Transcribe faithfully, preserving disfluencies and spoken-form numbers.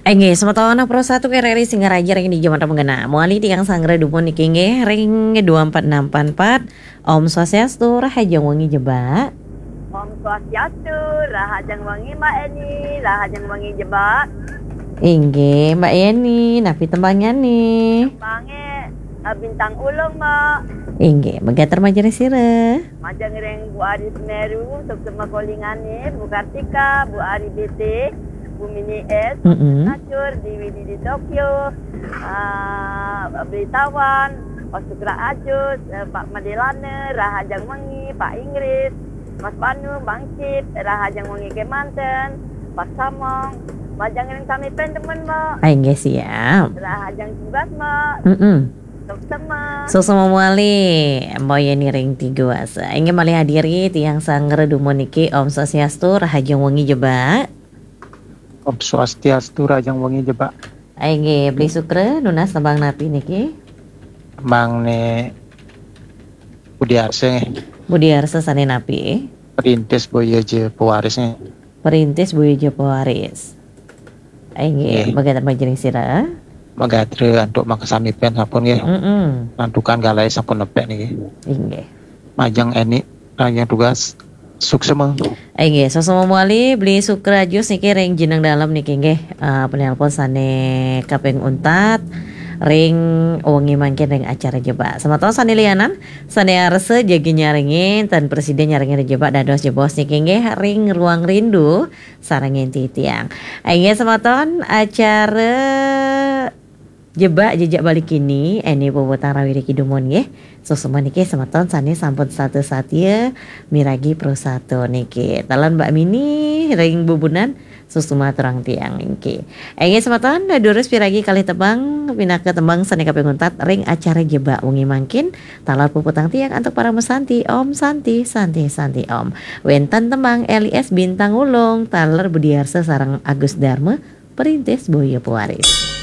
Inggih, semeton Pro satu R R I Singaraja ring dija manten mangkin. Mawali tiang sanggra dumun niki inggih ring dua empat enam empat empat. Om Swastiastu, rahajeng wengi Jebak. Om Swastiastu, rahajeng wengi Mbak Eni, rahajeng wengi Jebak. Inggih, Mbak Eni, napi tembangnyané? Tembangé, eh, Bintang Ulung, Mbak. Inggih, megatur majeng ring sira. Majeng ring Bu Ari Semeru, suksma kalingané, Bu Kartika, Bu Ari B T, Bu Mini S, Mm-mm. Acur, D W D di Tokyo, ah, Beli Tawan, Pak Sukra Ajus, eh, Pak Madelana, rahajeng wengi, Pak Inggris, Mas Banu, Bang Cip, rahajeng wengi kémanten, Pak Samong, majeng ring sami pén temen, Mbak. Ah, inggih siap. Rahajeng tugas, Mbak. Mm-mm. Suksma. Suksma mawali, Mbak Yeni ring Tiguasa. Inggih malih hadiri tiang sanggra dumun niki, Om Swastiastu, rahajeng wengi Jebak. Om Swastiastu, rahajeng wengi Jebak. Inggih, Beli Sukra, nunas tembang napi niki? Tembangné Budi Arsa nggih. Budi Arsa sané napi? Perintis Boya Ja Pewaris nggih. Perintis Boya Ja Pewaris. Inggih, nggih. Megatur majeng ring sira. Megatur antuk makasami pén sampun nggih. Mm-mm. Santukan galahe sampun nepek niki. Inggih. Majeng Eni, majeng tugas. Suksma. Inggih, suksma mawali Beli Sukra Ajus niki ring Jeneng Dalem niki nggih. Eh, penelpon sané kaping untat ring wengi mangkin ring acara Jebak. Semeton sané lianan, sané arsa jagi nyarengin, tan prasida nyarengin ring Jebak dados jebos niki nggih ring Ruang Rindu sarengin titiang. Inggih semeton, acara Jebak Jejak Bali kini, Eni puputang rawi niki dumun nggih. Suksma niki semeton sané sampun setata satia miragi Pro satu niki. Taler Mbak Mini ring Bubunan, suksma aturang tiang niki. Inggih semeton, durus piragi kalih tembang, pinaka tembang sané kaping untat ring acara Jebak wengi mangkin, taler puputang tiang antuk parama santi, Om Santi, Santi, Santi Om. Wénten tembang L I S Bintang Ulung, taler Budi Arsa sareng Agus Darma, Perintis Boya Pewaris.